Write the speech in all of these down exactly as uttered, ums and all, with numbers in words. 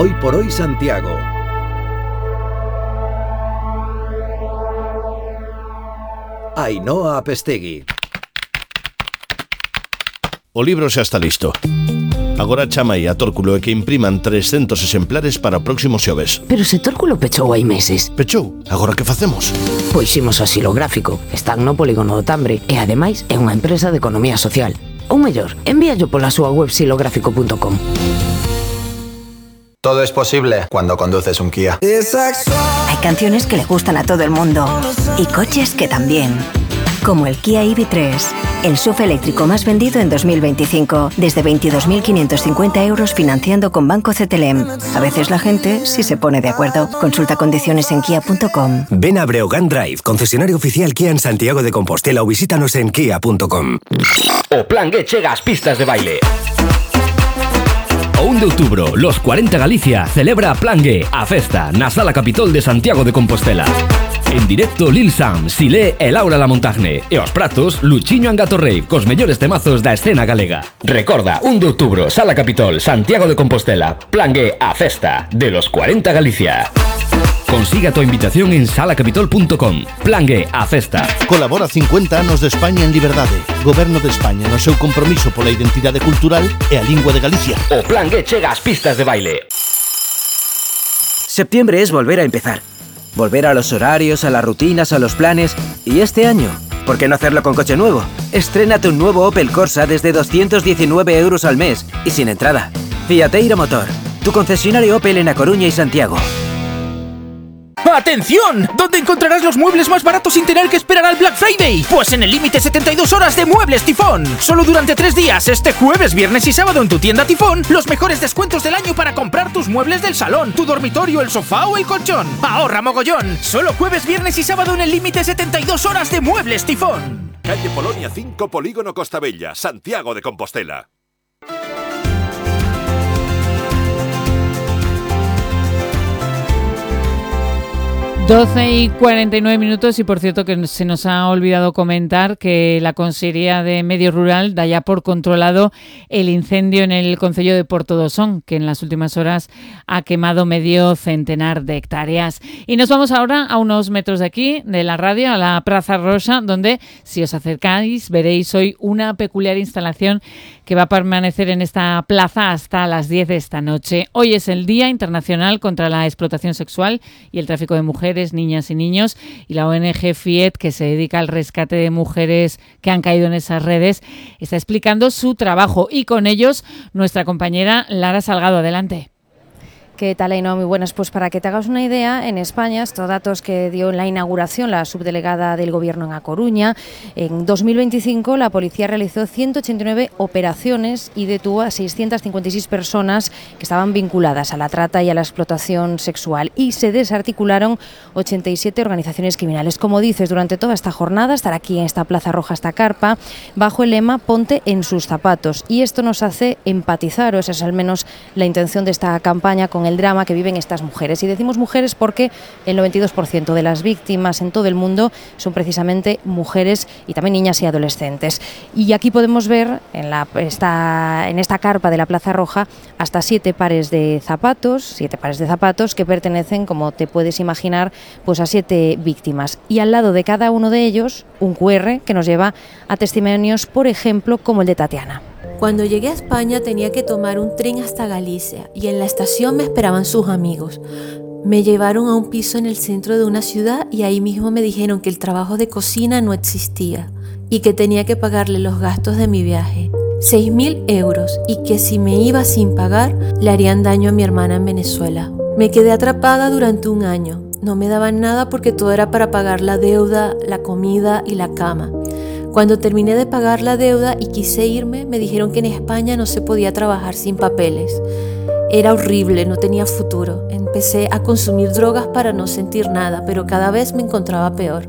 Hoy por hoy Santiago. Ainhoa Apestegui. O libro xa está listo. Agora chama aí a Tórculo e que impriman trescentos exemplares para o próximo xoves. Pero se Tórculo pechou hai meses. Pechou? Agora que facemos? Pois imos a Xilográfico. Están no polígono do Tambre e ademais é unha empresa de economía social. Ou mellor, envíallo pola súa web xilográfico punto com. Todo es posible cuando conduces un Kia. Hay canciones que le gustan a todo el mundo y coches que también. Como el Kia E V tres, el S U V eléctrico más vendido en dos mil veinticinco, desde veintidós mil quinientos cincuenta euros financiando con Banco C T L M. A veces la gente sí se pone de acuerdo. Consulta condiciones en kia punto com. Ven a Breogán Drive, concesionario oficial Kia en Santiago de Compostela, o visítanos en kia punto com. O Plan G chega ás pistas de baile. O un de outubro, los cuarenta Galicia celebra Plan G, a festa na Sala Capitol de Santiago de Compostela. En directo Lil Sam, Silé e Laura Lamontagne. E os pratos, Luchiño Angato Rave, cos mellores temazos da escena galega. Recorda, un de outubro, Sala Capitol, Santiago de Compostela. Plan G, a festa de los cuarenta Galicia. Consiga tu invitación en sala capitol punto com. Plan G, a festa. Colabora cincuenta anos de España en liberdade. Goberno de España no seu compromiso pola identidade cultural e a lingua de Galicia. O Plan G chega ás pistas de baile. Septiembre es volver a empezar. Volver a los horarios, a las rutinas, a los planes. Y este año, ¿por qué no hacerlo con coche nuevo? Estrénate un nuevo Opel Corsa desde doscientos diecinueve euros al mes y sin entrada. Fiateiro Motor, tu concesionario Opel en A Coruña y Santiago. ¡Atención! ¿Dónde encontrarás los muebles más baratos sin tener que esperar al Black Friday? Pues en el límite setenta y dos horas de Muebles Tifón. Solo durante tres días, este jueves, viernes y sábado en tu tienda Tifón, los mejores descuentos del año para comprar tus muebles del salón, tu dormitorio, el sofá o el colchón. ¡Ahorra mogollón! Solo jueves, viernes y sábado en el límite setenta y dos horas de Muebles Tifón. Calle Polonia cinco, Polígono Costa Bella, Santiago de Compostela. doce y cuarenta y nueve minutos y por cierto que se nos ha olvidado comentar que la Consellería de Medio Rural da ya por controlado el incendio en el concello de Portodosón, que en las últimas horas ha quemado medio centenar de hectáreas. Y nos vamos ahora a unos metros de aquí, de la radio, a la Praza Rosa, donde si os acercáis veréis hoy una peculiar instalación que va a permanecer en esta plaza hasta las diez de esta noche. Hoy es el Día Internacional contra la Explotación Sexual y el Tráfico de Mujeres, Niñas y Niños, y la O N G FIET, que se dedica al rescate de mujeres que han caído en esas redes, está explicando su trabajo y con ellos nuestra compañera Lara Salgado. Adelante. ¿Qué tal, Ainhoa? Muy buenas. Pues para que te hagas una idea, en España, estos datos que dio en la inauguración la subdelegada del Gobierno en A Coruña, en dos mil veinticinco la policía realizó ciento ochenta y nueve operaciones y detuvo a seiscientas cincuenta y seis personas que estaban vinculadas a la trata y a la explotación sexual y se desarticularon ochenta y siete organizaciones criminales. Como dices, durante toda esta jornada, estar aquí en esta Plaza Roja, esta carpa, bajo el lema Ponte en sus zapatos. Y esto nos hace empatizar, o esa es al menos la intención de esta campaña, con el drama que viven estas mujeres. Y decimos mujeres porque el noventa y dos por ciento de las víctimas en todo el mundo son precisamente mujeres y también niñas y adolescentes. Y aquí podemos ver en, la, esta, en esta carpa de la Plaza Roja hasta siete pares de zapatos, siete pares de zapatos que pertenecen, como te puedes imaginar, pues a siete víctimas. Y al lado de cada uno de ellos, un cu erre que nos lleva a testimonios, por ejemplo, como el de Tatiana. Cuando llegué a España tenía que tomar un tren hasta Galicia y en la estación me esperaban sus amigos. Me llevaron a un piso en el centro de una ciudad y ahí mismo me dijeron que el trabajo de cocina no existía y que tenía que pagarle los gastos de mi viaje, seis mil euros, y que si me iba sin pagar le harían daño a mi hermana en Venezuela. Me quedé atrapada durante un año. No me daban nada porque todo era para pagar la deuda, la comida y la cama. Cuando terminé de pagar la deuda y quise irme, me dijeron que en España no se podía trabajar sin papeles. Era horrible, no tenía futuro. Empecé a consumir drogas para no sentir nada, pero cada vez me encontraba peor.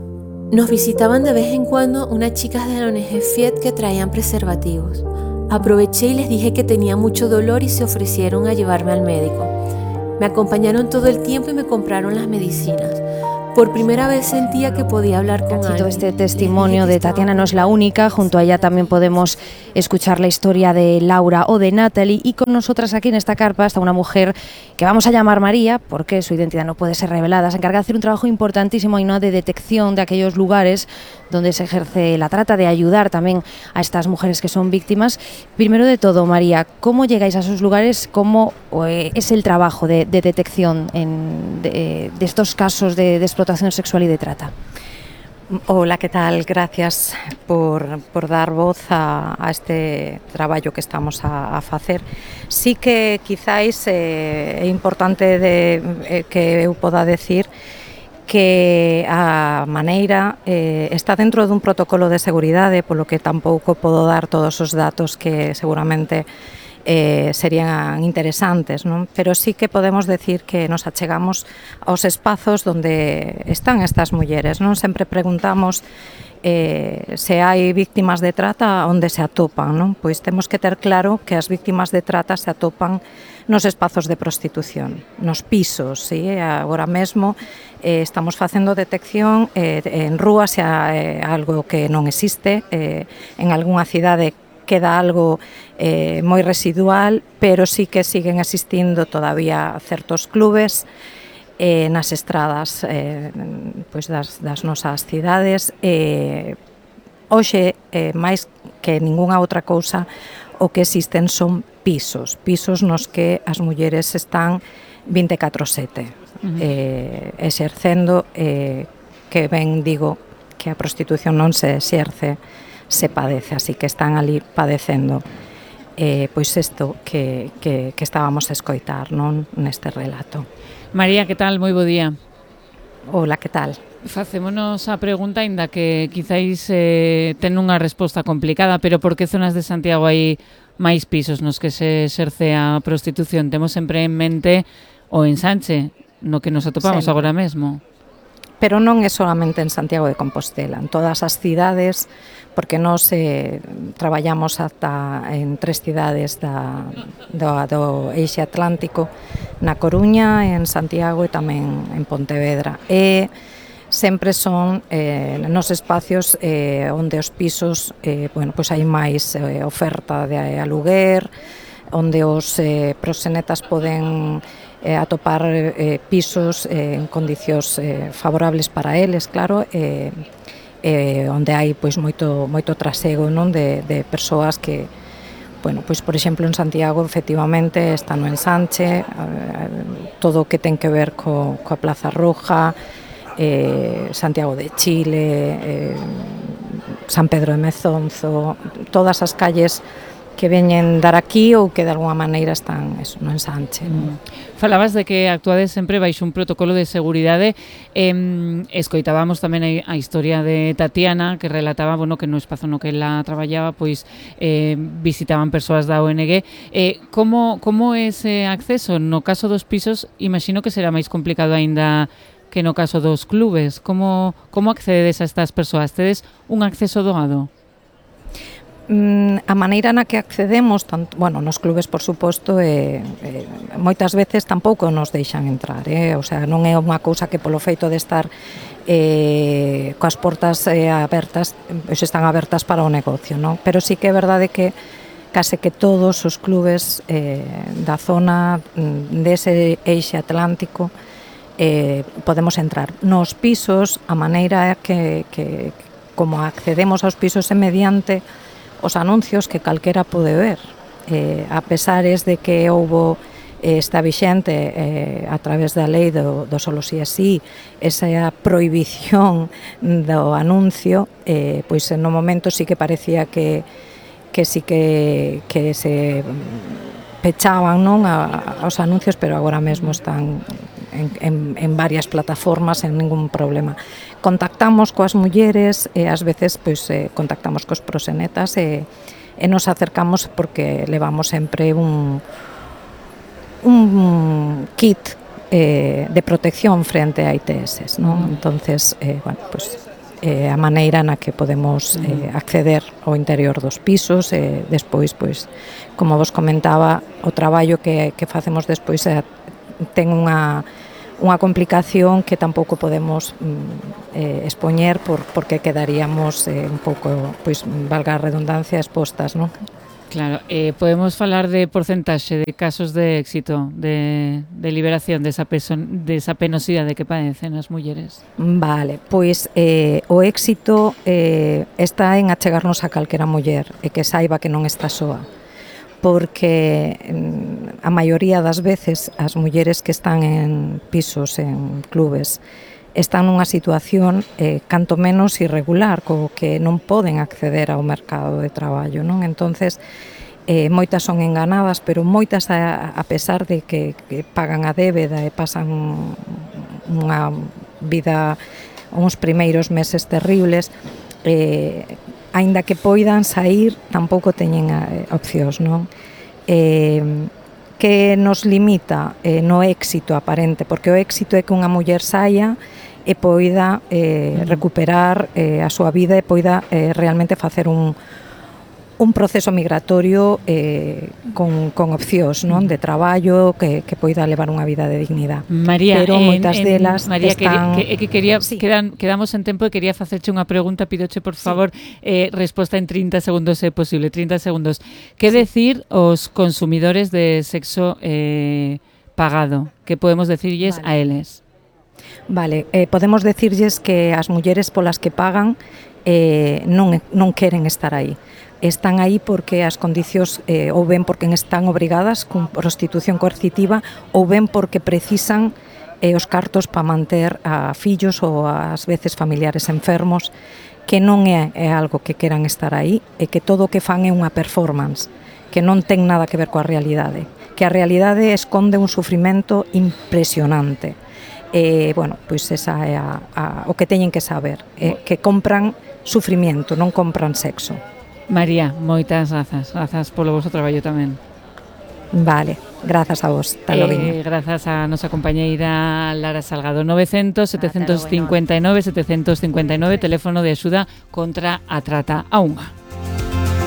Nos visitaban de vez en cuando unas chicas de la O N G FIET que traían preservativos. Aproveché y les dije que tenía mucho dolor y se ofrecieron a llevarme al médico. Me acompañaron todo el tiempo y me compraron las medicinas. Por primera vez sentía que podía hablar con alguien. Este testimonio de Tatiana no es la única, junto a ella también podemos escuchar la historia de Laura o de Natalie, y con nosotras aquí en esta carpa está una mujer que vamos a llamar María, porque su identidad no puede ser revelada. Se encarga de hacer un trabajo importantísimo y no de detección de aquellos lugares donde se ejerce la trata, de ayudar también a estas mujeres que son víctimas. Primero de todo, María, ¿cómo llegáis a esos lugares? ¿Cómo eh, es el trabajo de, de detección en, de, de estos casos de, de explotación sexual y de trata? Hola, ¿qué tal? Gracias por, por dar voz a, a este traballo que estamos a, a facer. Sí que quizáis eh, é importante de, eh, que eu poda decir que a maneira eh, está dentro dun protocolo de seguridade, polo que tampouco podo dar todos os datos que seguramente eh, serían interesantes, non? Pero sí que podemos decir que nos achegamos aos espazos onde están estas mulleres, non? Sempre preguntamos eh, se hai víctimas de trata onde se atopan, non? Pois temos que ter claro que as víctimas de trata se atopan nos espazos de prostitución, nos pisos, sí? Agora mesmo eh, estamos facendo detección eh, en rúas, se eh, algo que non existe, eh, en algunha cidade queda algo eh, moi residual, pero sí que siguen existindo todavía certos clubes eh, nas estradas eh, pois das, das nosas cidades. Eh, hoxe, eh, máis que ningunha outra cousa, o que existen son pisos, pisos nos que as mulleres están veinticuatro sete, uh-huh. eh, exercendo, eh, que ben digo que a prostitución non se exerce, se padece, así que están ali padecendo eh, pois isto que, que, que estábamos a escoitar, non, neste relato. María, que tal? Moi bo día. Hola, que tal? Facémonos a pregunta, ainda que quizáis eh, ten unha resposta complicada, pero por que zonas de Santiago hai máis pisos nos que se exerce a prostitución? Temos sempre en mente o Ensanche, no que nos atopamos sí. agora mesmo. Pero non é solamente en Santiago de Compostela, en todas as cidades, porque nós eh, traballamos ata en tres cidades da, do, do Eixe Atlántico, na Coruña, en Santiago e tamén en Pontevedra. E sempre son eh, nos espacios eh, onde os pisos, eh, bueno, pois hai máis eh, oferta de aluguer, onde os eh, proxenetas poden eh, atopar eh, pisos eh, en condicións eh, favorables para eles, claro, eh, eh, onde hai pois moito moito trasego, non, de, de persoas que, bueno, pois por exemplo en Santiago efectivamente está no Ensanche, eh, todo o que ten que ver co, coa Plaza Roja, eh, Santiago de Chile, eh, San Pedro de Mezonzo, todas as calles que veñen dar aquí ou que de alguma maneira están eso, no Ensanche. Mm. Falabas de que actuades sempre baixo un protocolo de seguridade. Eh, escoitábamos tamén a, a historia de Tatiana, que relataba, bueno, que no espazo no que ela traballaba, pois eh, visitaban persoas da O N G. Eh, como, como é ese acceso? No caso dos pisos, imagino que será máis complicado aínda que no caso dos clubes. Como, como accedes a estas persoas? Tedes un acceso doado? A maneira na que accedemos, tanto, bueno, nos clubes, por suposto, eh, eh, moitas veces tampouco nos deixan entrar, eh? O sea, non é unha cousa que polo feito de estar eh, coas portas eh, abertas, pois están abertas para o negocio, non? Pero sí que é verdade que case que todos os clubes eh, da zona dese eixe atlántico eh, podemos entrar. Nos pisos, a maneira que, que como accedemos aos pisos é mediante os anuncios que calquera pode ver. Eh, a pesares de que houbo eh, está vixente eh, a través da lei do, do solo si é si, esa prohibición do anuncio, eh, pois no momento sí que parecía que, que sí que, que se pechaban, non, a, aos anuncios, pero agora mesmo están en, en, en varias plataformas sen ningún problema. Contactamos coas mulleres e ás veces pois, eh, contactamos cos proxenetas e, e nos acercamos porque levamos sempre un, un kit eh, de protección frente a I T S, non? Entonces, eh, bueno, pues, eh, a maneira na que podemos eh, acceder ao interior dos pisos e despois, pois, como vos comentaba, o traballo que, que facemos despois é, ten unha unha complicación que tampouco podemos mm, eh, expoñer por, porque quedaríamos eh, un pouco, pois, valga a redundancia, expostas, non? Claro, eh, podemos falar de porcentaxe de casos de éxito, de, de liberación desa, peso, desa penosidade que padecen as mulleres? Vale, pois eh, o éxito eh, está en achegarnos a calquera muller e que saiba que non está soa, porque a maioría das veces as mulleres que están en pisos, en clubes, están nunha situación eh, canto menos irregular, co que non poden acceder ao mercado de traballo, non? Entonces, eh, moitas son enganadas, pero moitas a, a pesar de que, que pagan a débeda e pasan unha vida, uns primeiros meses terribles, eh, aínda que poidan sair, tampouco teñen opcións, non? Eh, que nos limita eh, no éxito aparente, porque o éxito é que unha muller saia e poida eh, recuperar eh, a súa vida e poida eh, realmente facer un, un proceso migratorio eh, con, con opcións, non? De traballo que, que poida levar unha vida de dignidade. María, pero en, moitas en, delas María, están... que, que quería, sí. quedan, quedamos en tempo e quería facerche unha pregunta, pidoche por favor, sí. eh, resposta en trinta segundos se é posible, trinta segundos. Que sí. decir os consumidores de sexo eh, pagado? Que podemos decirlles vale. a eles? Vale, eh, podemos decirlles que as mulleres polas que pagan eh, non, non queren estar aí. Están aí porque as condicións eh, ou ben porque están obrigadas con prostitución coercitiva ou ben porque precisan eh, os cartos para manter a fillos ou ás veces familiares enfermos, que non é, é algo que queran estar aí e que todo o que fan é unha performance, que non ten nada que ver coa realidade, que a realidade esconde un sufrimento impresionante. Eh, bueno, pois esa é a, a, o que teñen que saber, eh, que compran sufrimiento, non compran sexo. María, moitas grazas, grazas polo vosso traballo tamén. Vale, grazas a vos, talo eh, grazas a nosa compañeira Lara Salgado. Novecientos, setecentos cincuenta e nove, setecentos cincuenta e nove, teléfono de axuda contra a trata a unha.